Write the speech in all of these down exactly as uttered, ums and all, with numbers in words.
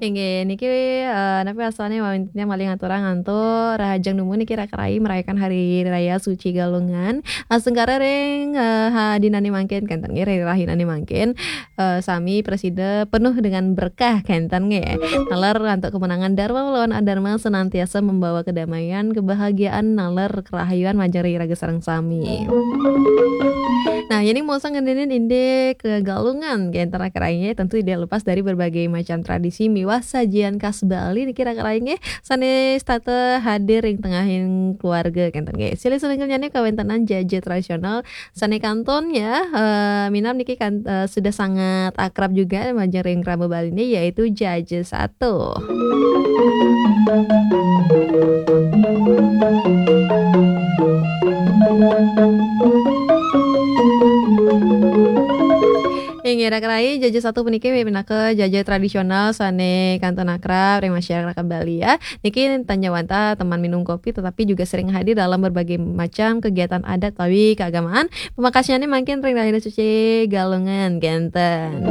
Inggih, niki, eh, napi wastané mawinan malih ngaturang antuk rahajeng dumun niki Raka Rai merayakan Hari Raya Suci Galungan. Asungkara ring, eh, ha, dinané mangkin kénten nggih, ring rahinané mangkin, eh, sami prasida penuh dengan berkah kénten nggih. Naler antuk kemenangan Dharma melawan Adharma senantiasa membawa kedamaian, kebahagiaan, naler kerahayuan majeng ring iraga sareng sami. Nah, yéning mosang ngendénin indik Galungan, kénten Raka Rai, tentu tidak lepas dari berbagai macam tradisi miwah sajian khas Bali niki Raka Rai nggih, sané setata hadir ring tengahing keluarga kénten nggih. Silih sinunggilnyané kawéntenan jaja tradisional sané kantun ya, eh, minab niki kan, eh, sudah sangat akrab juga majeng ring krama Baliné, yaitu jaja sato. Inggih, Raka Rai, jaja sato puniki pinaka jaja tradisional sané kantun akrab ring masyarakat Bali ya. Niki tan ja wantah teman minum kopi, tetapi juga sering hadir dalam berbagai macam kegiatan adat utawi keagamaan. Pamekasnyané mangkin ring Rahina Suci Galungan kénten.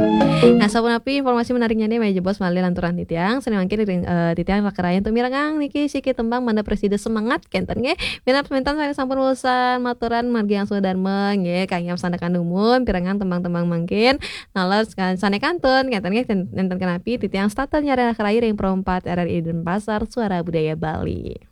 Nah, sapunapi informasi menariknyané malih jebos malih lanturang titiang, sané mangkin ring, eh, titiang Raka Rai antuk mirengang niki siki tembang mangda prasida semangat kénten nggih. Minab semeton sané sampun wusan maturan margi angsung Dharma nggih, kayang sandekan dumun pirengang tembang-tembang mangkin. Naler sané kantun kénten nggih, ten-, nénten kenapi titiang setata nyarengin Raka Rai ring Pro empat R R I Denpasar, Suara Budaya Bali.